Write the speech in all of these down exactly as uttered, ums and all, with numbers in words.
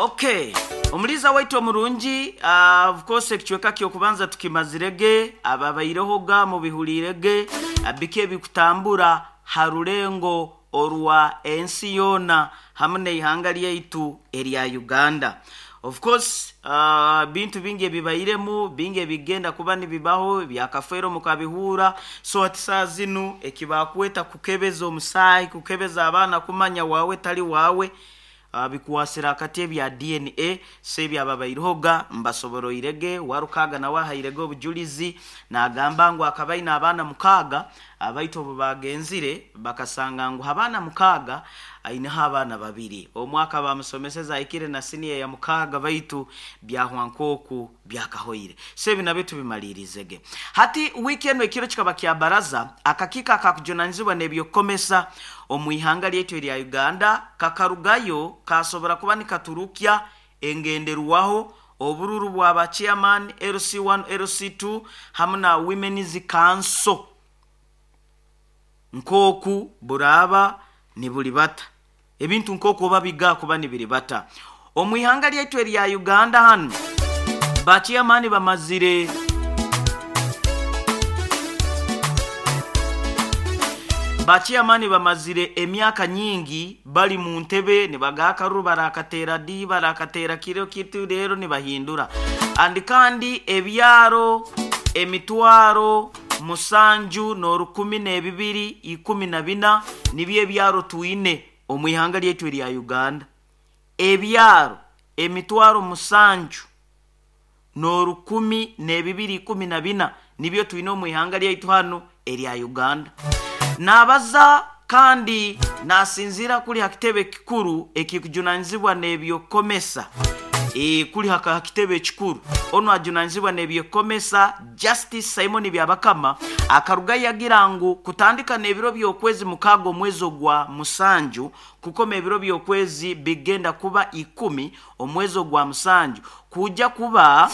Okay, omuliza waitu omurungi, uh, of course ekicweka kyokubanza tukimazirege, ababairehoga mubihulirege biki ebikutambura harulengo orwa ensi yoona hamu n'eihanga lyaitu erya Uganda. Of course, uh, bintu bingi ebibairemu, bingi ebigenda kuba nibibaho byakafeero mukabihura. So ati saa zinu ekibakweta kukebeza omusaayi, kukebeza abaana kumanya wawe tali wawe, uh, bikuwasira akati ebya D N A. So ebyababairehoga mbasoboroirege. Warukaga nawe ahairege obujulizi nagamba ngu akabaina abaana mukaaga, abaitu obu bagenzire bakasanga ngu abaana mukaaga aineho abaana babiri, omwaka bamusomeseza ahikire na siniya ya mukaaga, baitu byahwa nk'oku byakahoire. So ebi nabyo tubimalirizege. Hati wiki eno ekiro kikaba kya baraza, akakiiko akakujunanizibwa n'ebyokukomesa omu ihanga lyaitu erya Uganda kakarugayo kasobora kuba nikaturukya engenderwaho obururu bwaba chairman L C one L C two hamu na Women's Council nkoku buraba nibuli bata, ebintu nkoku oba biga kuba nibiri bata omu ihanga lyaitu erya Uganda. Hanu ba chairman bamazire ba chairman bamazire emyaka nyingi bali mu ntebe, nibagakaruru barakatera di barakatera kiro kitu rero nibahindura. Andi kandi ebyaro emitwaro musanju n'orukumi n'ebibiri ikumi na bina nibyo ebyaro twine omu ihanga lyaitu erya Uganda. Ebyaro emitwaro musanju n'orukumi n'ebibiri ikumi na bina nibyo twine omu ihanga lyaitu hano erya Uganda. Nabaza kandi nasinzira kuli hakitebe kikuru ekikujunanizibwa n'ebyokomesa. E, kuli haka hakitebe kikuru ono ajunanizibwa n'ebyokomesa Justice Simon Byabakama akaruga yagira ngu kutandika n'ebiro by'okwezi mukaaga omwezi ogwa musanju kukoma ebiro by'okwezi bigenda kuba ikumi omwezi ogwa musanju kujja kuba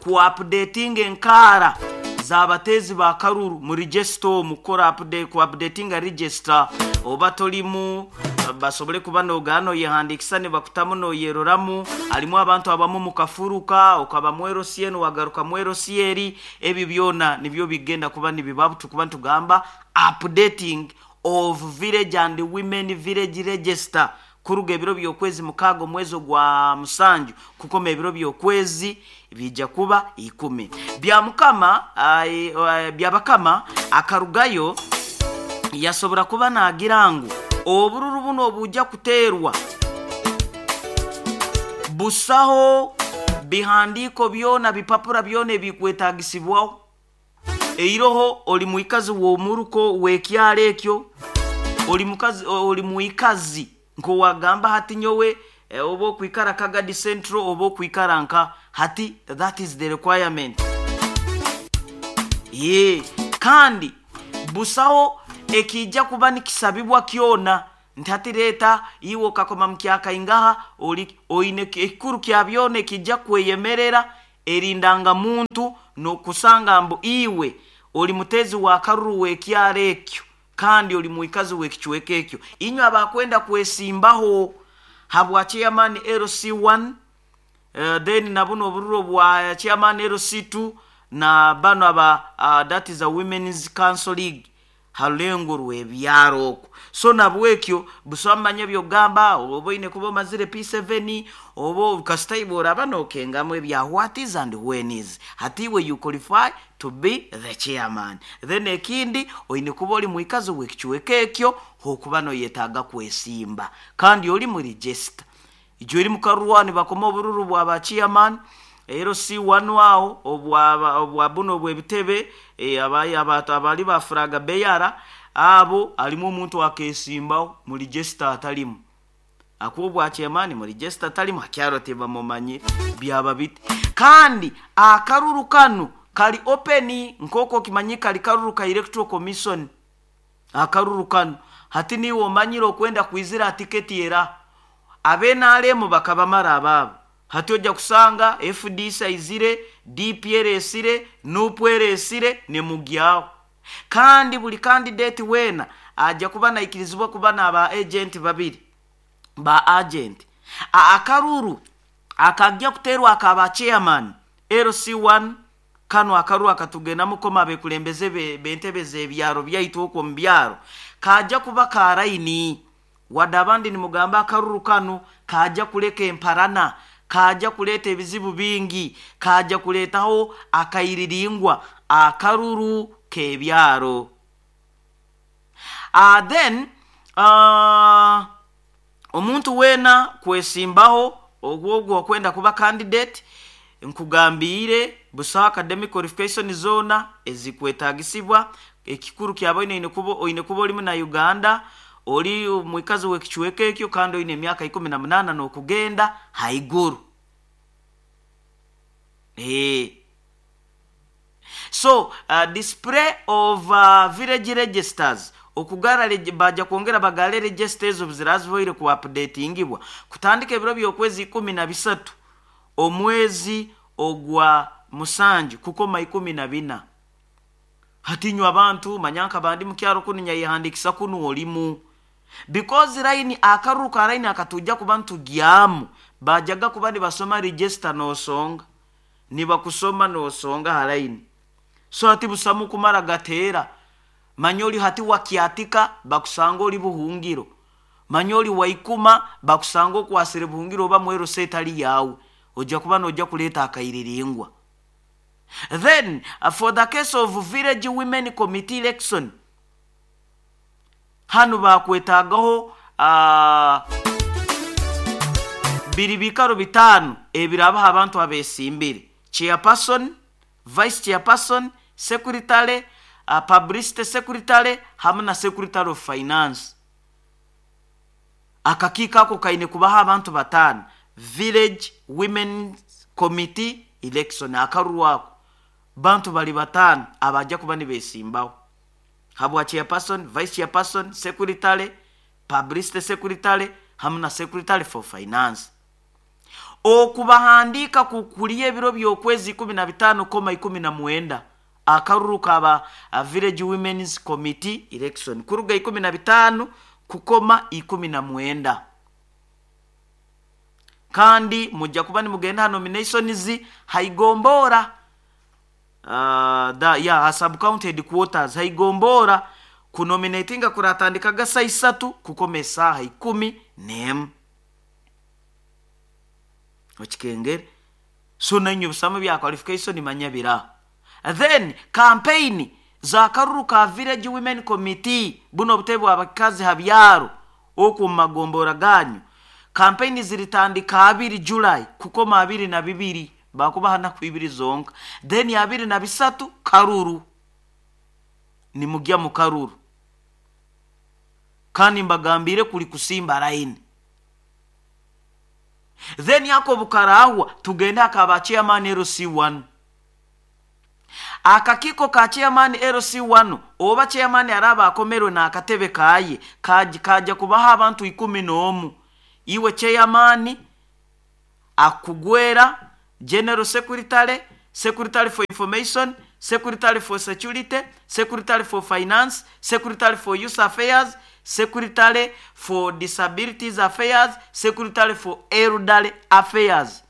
ku updating enkara z'abatezi ba karuru mu register mukora update ku updating register oba tolimu basobole kuba nogano yehandikisa ne bakutamu no yeroramu. Alimu abantu abamu mukafuruka okaba mwero sieno wagaruka mwero sieri, ebi byona nibyo bigenda kuba nibibabu tukuba tugamba updating of village and women village register kuruga ebiro by'okwezi mukaaga omwezi gwa musanju kukoma ebiro by'okwezi bijja kuba ikumi. Bya mukama Byabakama akarugayo yasobora kuba nagira ngu obururu buno obujja kuterwa busaho bihandiko byona bipapura byona ebikwetagisibwaho. Eiroho oli muikazi w'omuruko w'ekyalo ekyo, oli mukazi, oli muikazi nkowagamba hati nyowe e, oba okwikara Kagadi Central oba okwikara nka hati, that is the requirement. Ye kandi busaho ekijja kuba nikisabibwa kyona nti hati leta iwe okakoma mukyaka ingaha oli oine ekikuru kya byona ekijja kweyemerera erindanga muntu nokusanga mbu iwe oli mutezi wa karuru w'ekyalo ekyo kandi oli muikazi w'ekicweka ekyo. Inywe abakwenda kwesimbaho habwa chairman L C one, uh, then nabuno obururo bwa chairman L C two na bano aba uh, that is a Women's Council League halengo rw'ebyaro okwo. So nabwekyo busamanya byogamba oba ine kuba omazire P seven oba kasita oraba nokengamu ebya what is and when is hati we you qualify to be the chairman. Then ekindi oine kuba oli muikazi w'ekicweka ekyo hokuba noyetaaga kwesimba kandi oli mu register ijo eri mukarwani bakoma obururu bwa ba chairman L C one aho obwa obwa buno bw'ebitebe e, abayi abantu abali bafuraga beyara abo alimu omuntu akesimbaho mu register atalimu akubwa chairman mu register atalimu akyaro tebamumanye byaba bite. Kandi akaruru kanu kali open nkoko kimanyika kali karuru ka Electoral Commission akaruru kanu hati niwo omanyire okwenda kwizira tiketi era abenalemu bakabamara ababo. Hati ojja kusanga F D C aizire, D P L esire, N U P L esire ne mugyao. Kandi buli candidate wena ajja kuba naikirizibwa kuba n'aba agent babiri ba agent. Akaruru akajja kuterwa akaba chairman L C one, kano akaruru akatugendamu koma abekulembeze b'entebe z'ebyaro byaitu okwo mu byaro, kajja kuba ka line. Wadde abandi nimugamba akaruru kano kajja kuleka emparana, kajja kuleeta ebizibu bingi, kajja kuleetaho akairiringwa, akaruru k'ebyaro. uh, then uh, omuntu weena kwesimbaho ogwogwo okwenda kuba candidate, nkugambiire busaho academic qualification zona ezikwetagisibwa. Ekikuru kyaba oine kuba oine kuba olimu na Uganda, oli mwikazi w'ekicweka ekyo, kandi oine emyaka ikumi na munaana n'okugenda haiguru. Eh. So uh, display of uh, village registers, okugara baja kwongera bagale registers obu ziraziboire ku updatingibwa kutandika ebiro by'okwezi ikumi na bisatu omwezi ogwa musanju kukoma ikumi na bina. Hatinywa abantu manyanka bandi mukyaro kunu nyayehandikisa kunu olimu, because line, akaruru ka line akatujja kuba ntugyamu, bajaga kuba nibasoma register nosonga, nibakusoma nosonga ha line. So hati busamu kumara gateera, manya oli hati wakyatika bakusanga oli buhungiro, manya oli waikuma bakusanga okwasire buhungiro oba mwero setali yawe, ojja kuba nojja kuleeta akairiringwa. Then uh, for the case of village women committee election, hano bakwetagaho uh, biri bikaro bitaano ebirabaho abantu abesimbire: chairperson, vice chairperson, secretary, uh, publicity secretary hamwe na secretary of finance. Akakiiko ako kaine kubaho abantu bataano. Village women committee election, akaruru ako bantu bali bataano abajja kuba nibesimbaho habwa chairperson, vice chairperson, secretary, publicity secretary hamwe na secretary for finance. Okubahandiika kukuliya ebiro by'okwezi ikumi na bitaano koma ikumi na mwenda. Akaruru kaba uh, village women's committee election kuruga ikumi na bitaano kukoma ikumi na mwenda. Kandi mujja kuba nimugenda ha nominations haigombora, uh, da, ya ha sub county headquarters haigombora. Kunominatinga kuratandikaga saa isatu kukoma esaaha ikumi n'emu. Okikengere. So nainywe busamu bya qualification manya bira. Then campaign za karuru ka village women committee, buno obutebe bw'abakazi ha byaro okwo mu magombora ganyu, campaign ziritandika abiri July kukoma abiri na bibiri, bakubaha naku ibiri zonka. Then abiri na bisatu karuru, nimugya mu karuru. Kandi mbagambire kuli kusimba line. Then yako bukarahwa tugende akaba chairman L C one. Akakiiko ka chairman L C one oba chairman araba akomerwe n'akatebe kaye kaja kaja kubaho abantu ikumi n'omu. Iwe chairman akugwera general secretary, secretary for information, secretary for security, secretary for finance, secretary for youth affairs, secretary for disabilities affairs, secretary for elderly affairs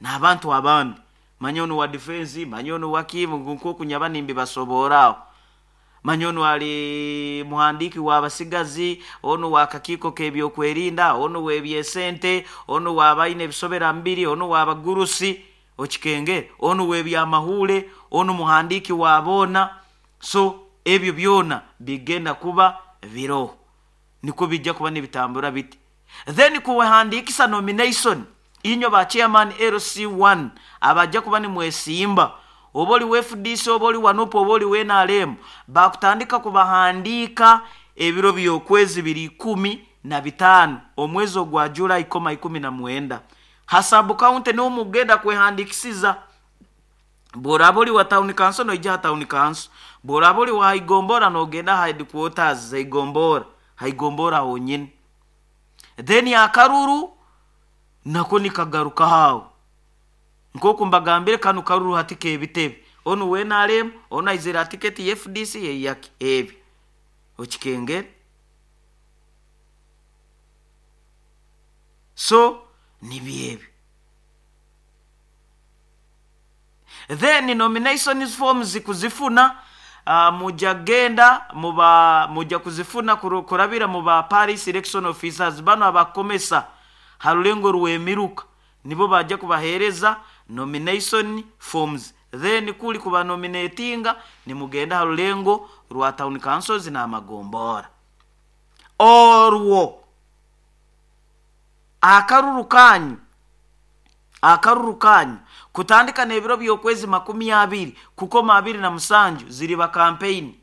n'abantu abandi, manya ono wa defense, manya ono wakimu nkokunyaba nimbi basoboraawo, manya ono ali muhandiki w'abasigazi, ono wakakiiko k'ebyokwerinda, ono w'ebyesente, ono w'abalina ebisobera mbiri, ono w'abagurusi, okikengere, ono w'ebyamahuule, ono muhandiki w'aboona. So ebyo byona bigenda kuba biroho, niko bijja kuba nibitambura biti. Then kuwehandikisa nomination, inyo ba chairman L C one abajja kuba nimwesimba, oba oli wa F D C, oba oli wa NUP, oba oli wa N R M, bakutandika kubahandiika ebiro by'okwezi biri ikumi na bitaano omwezi ogwa July koma ikumi na mwenda. Ha sub county niwo mugenda kwehandikisiza. Bw'oraba oli wa town council noija ha town council, bw'oraba oli wa haigombora nogenda ha headquarters zaigombora, haigombora honyine. Then akaruru nako nikagaruka hawo nkoku mbagambire, kano karuru hati kebitebe, onu wa N R M, onu aizire tiketi ya F D C yeyaki, ebyo okikengere. So Nibyo ebyo. Then nominations forms kuzifuna, uh, mujja genda muba mujja kuzifuna kurabira mu ba parish election officers bano abakomesa harulengo rwemiruka, nibo bajja kubahereza nomination forms. Then kuli kuba nominatinga nimugenda harulengo rwa town councils n'amagombora. Orwo akaruru kanyu akaruru kanyu kutandika n'ebiro by'okwezi makumi abiri kukoma abiri na musanju ziriba campaign.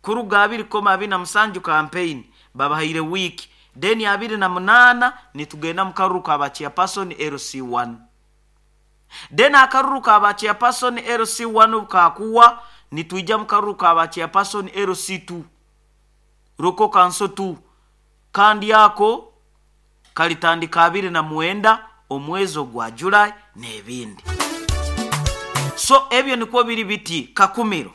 Kuruga abiri koma abiri na musanju campaign babahaire wiki, then abiri na munana nitugenda mu karuru ka chairperson L C one. Then akaruru ka chairperson L C one kakuwa nitwija mu karuru ka chairperson L C two, Local Council two, kandi ako kalitandika abiri na mwenda omwezi ogwa July n'ebindi. So ebyo nikwo biri biti Kakumiro.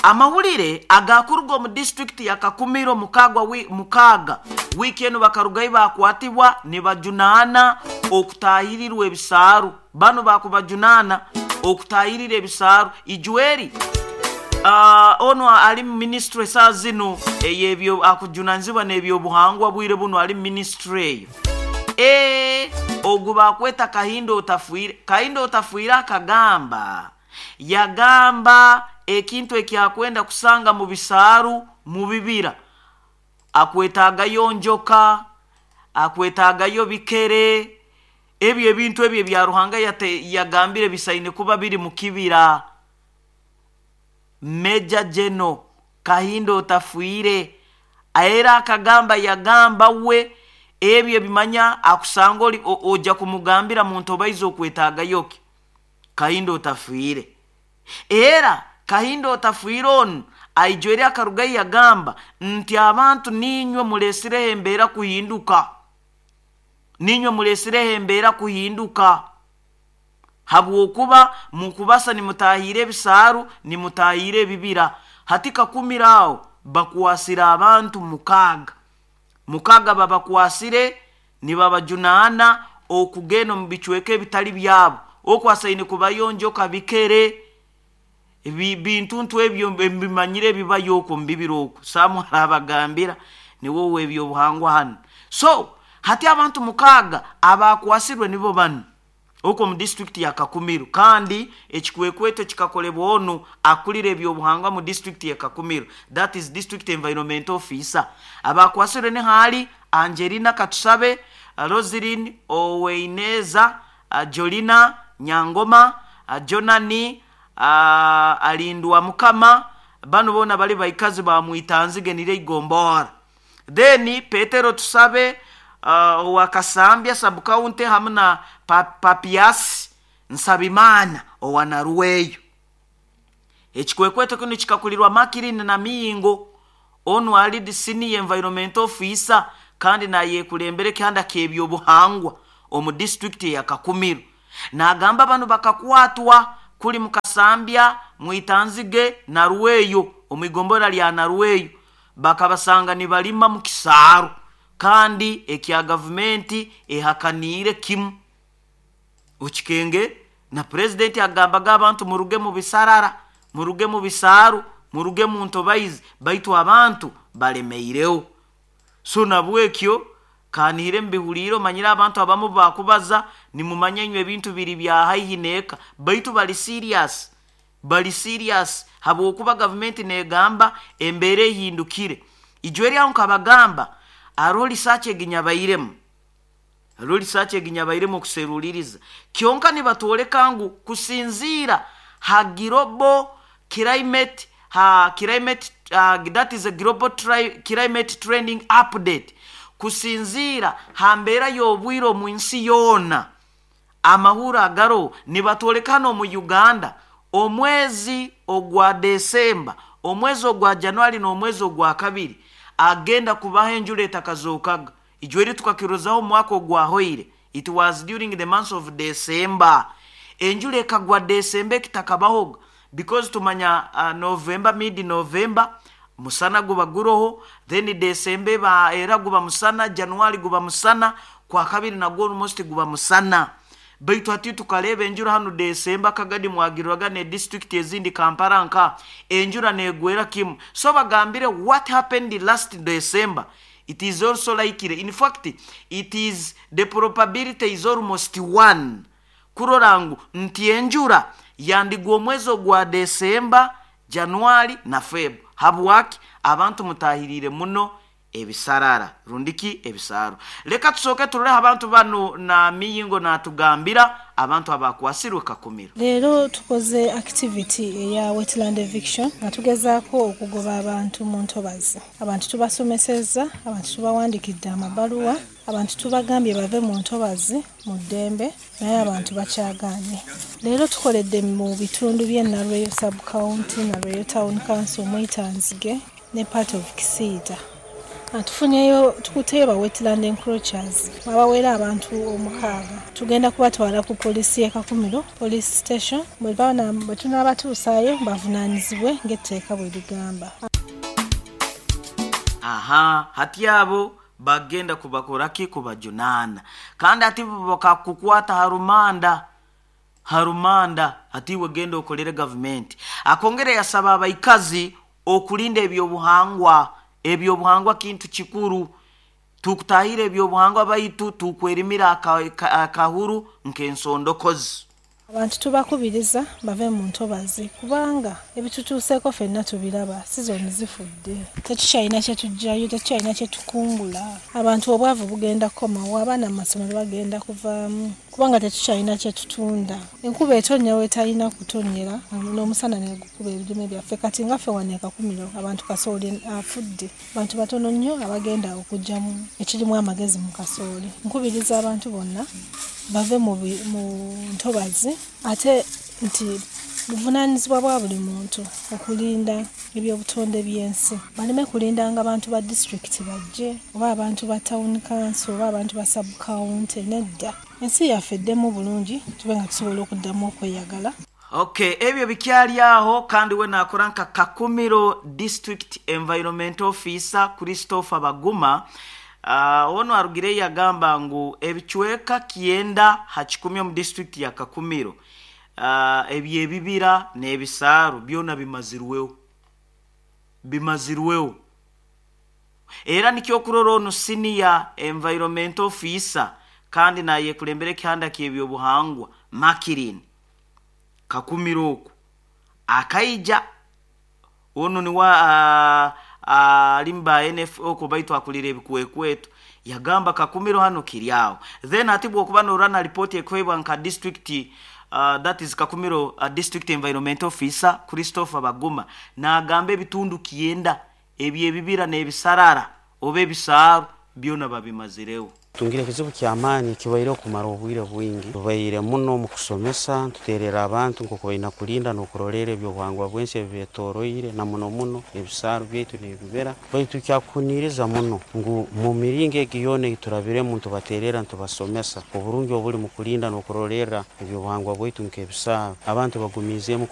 Amawulire agakuruga omu district ya Kakumiro mukagwa wi, mukaga wiki eno bakarugayo bakwatibwa nibajunaana okutahirirwa ebisaaru. Bano bakubajunaana okutahirira ebisaaru. Ijweri uh, ono ali ministry saa zino eyebyo akujunanzibwa n'ebyobuhangwa bwire buno ali ministry eyo. E ogu bakweta Kahindo Otafiire. Kahindo Otafiire akagamba, yagamba ekintu ekyakwenda kusanga mu bisaaru mu bibira, akwetagayo njoka, akwetagayo bikere, ebyo ebintu ebyo bya Ruhanga yate, yagambire bisaine kuba biri mu kibira. Meja Jeno Kahindo Otafiire era akagamba, yagamba we ebyo bimanya akusanga oli ojja kumugambira muntu obaiza okwetagayoki. Kahindo Otafiire era Kahindo Otafiire ono aijwere akarugayo yagamba nti abantu ninywe mulesireho embeera kuhinduka, ninywe mulesireho embeera kuhinduka, habwokuba mukubasa nimutahire ebisaaru nimutahire ebibira. Hati Kakumiro aho bakwasira abantu mukaaga mukaga babakwasire nibabajunaana okugenda omu bicweka ebitali byabo, okwasaine kubayonjoka bikere bintu ntu ebyo mbimanyire ebibayo okwo mu bibira okwo. Samuel abagambira niwowe ebyobuhangwa hano. So hati abantu mukaaga abakwasirwe nibo bano okwo mu district ya Kakumiro, kandi ekikwekweto kikakolebwa ono akulira ebyobuhangwa mu district ya Kakumiro, that is district environment officer. Abakwasirwe ni hali Angelina Katusabe, Roselyn Oweineza, Jolina Nyangoma, Jonani Alindwa Mukama, bano bona bali baikazi ba Mwitanzige nire igombora. Then Petero Tusabe uh, wa Kasambya sub county hamwe na Papias Nsabimana owa Naruweyo. Ekikwekweto kino kikakulirwa Makirini na Miyingo ono ali senior environment officer kandi naye kulembere kihanda k'ebyobuhangwa omu district ya Kakumiro. Nagamba bano bakakwatwa kuli Mukasambya, Mwitanzige, Naruweyo, omuigombora lya Naruweyo, bakabasanga nibalima mu kisaaru kandi ekya gavumenti ehakanire kimu. Okikenge na president agambaga abantu muruge mu bisarara, muruge mu bisaaru, muruge mu ntobaizi, baitu abantu balemeireho. So nabwekyo kanihire mbihuliro manyira abantu abamu bakubaza nimumanya inywe ebintu biri bya haihi neka, baitu bali serious, bali serious habwokuba gavumenti negamba embeera ehindukire. Ijweri aho nkabagamba aro research eginyabairemu, aro research eginyabairemu okuseruliriza kyonka nibatwoleka ngu kusinziira ha global climate, ha climate, uh, that is a global tri, climate trending update, kusinziira ha mbeera y'obwire omu nsi yoona amahura agaro nibatwoleka hano mu Uganda omwezi ogwa Desemba, omwezi ogwa Januari n'omwezi ogwa kabiri agenda kubaho enjura etakazokaga. Ijweri tukakirozaho omwaka ogwahoire, it was during the month of December. Enjura ekagwa December ekitakabahoga because tumanya uh, November, mid November musana guba guroho, then December ba era guba musana, January guba musana, Kwa kabiri nagwo almost guba musana. Baitu hati tukareba enjura hanu Desemba, kagadi mwagirwaga ne district ezindi, Kampala nka enjura negwera kimu. So bagambire what happened last December, it is also likely, in fact it is the probability is almost one, kurora ngu nti enjura yandigwa omwezi ogwa Desemba, Januari na Feb. Habwaki? Abantu mutahirire muno ebisarara rundiki ebisaro. Reka tusooke turoleho abantu bano na miyingo natugambira abantu abakwasirwe Kakumiro. Leero tukoze activity eya wetland eviction nga tugezaako okugoba abantu mu ntobazi. Abantu tubasomesezza, abantu tubawandikidde amabaluwa, abantu tubagambye bave mu ntobazi mu ddembe, naye abantu bakyagaanye. Leero tukoledde mu bitundu by'e Nalweyo sub county, Nalweyo town council, Mwitanzige ne part of Kisiita. Tufunyeyo, tukuteyo ba wetland encroachers abawera abantu omukaaga. Tugenda kubatwala ku poliisi y'e Kakumiro police station, bwe tunaabatuusaayo bavunaanyizibwe ng'etteeka bwe ligamba. Aha, hati abo bagenda kubakoraki? Kubajunaana. Kandi ati bakakukwata harumanda harumanda, ati wegenda okolere gavumenti. Akongere yasaba abaikazi okulinda ebyobuhangwa. Ebyobuhangwa kintu kikuru. Tukutahira ebyobuhangwa baitu tukwerimira akahuru nk'ensondokozi. Abantu tubakubiriza bave mu ntobazi kubanga ebitutuuseeko ffenna tubiraba. Sizoni zifudde, tetukyalina kye tuggyayo, tetukyalina kye tukungula. Abantu obwavu bugenda kukomawo, abaana mu masomero bagenda kuvaamu kubanga tetukyalina kye tutunda. Enkuba etonnya weetalina kutonnyera n'omusana ne gukuba ebirime byaffe. Kati nga ffe wano e Kakumiro abantu kasooli afudde, abantu batono nnyo abagenda okuggyamu ekirimu amagezi mu kasooli. Nkubiriza abantu bonna bave mu ntobazi, ate nti buvunaanyizibwa bwa buli muntu okulinda ebyobutonde by'ensi. Baleme kulindanga abantu ba disitulikiti bajje oba abantu ba town council oba abantu ba sub county, nedda. Ensi yaffe eddemu bulungi tube nga tusobola okuddamu okweyagala. Okay, ebyo bikyali aho. Kandi we nakora nka Kakumiro district environment officer Christopher Baguma, uh, ono arugire yagamba ngu ebicweka kyenda ha kikumi omu district ya Kakumiro, uh, ebyebibira n'ebisaaru byona bimazirweho, bimazirweho. Era nikyo kurora ono senior environment officer kandi nayekulembera ekihanda ky'ebyobuhangwa Makirin Kakumiro oku akaija ono niwa uh, alimba uh, N F O ko baitu akulira ebikwekweto, yagamba Kakumiro hano kiri awo. Then ati bwokuba norana ripoti ekwebwa nka district, uh, that is Kakumiro uh, district environment officer Christopher Baguma, nagamba ebitundu kyenda ebyebibira n'ebisarara oba ebisaaru byona babimazirewo. Tungire ekizibu ky'amaani kibaire okumara obwire bwingi. Tubaire muno mu kusomesa, tuterera abantu nk'oku baina kulinda n'okurolera ebyobuhangwa bw'ensi ebibeetoroire, na muno muno ebisaaru byaitu n'ebibira. Baitu kyakuhuniiriza muno ngu mu miringo egi yoona ei turabiremu nitubaterera, nitubasomesa oburungi obuli mu kulinda n'okurolerra ebyobuhangwa bwaitu nk'ebisaaru, abantu bagumiizeemu.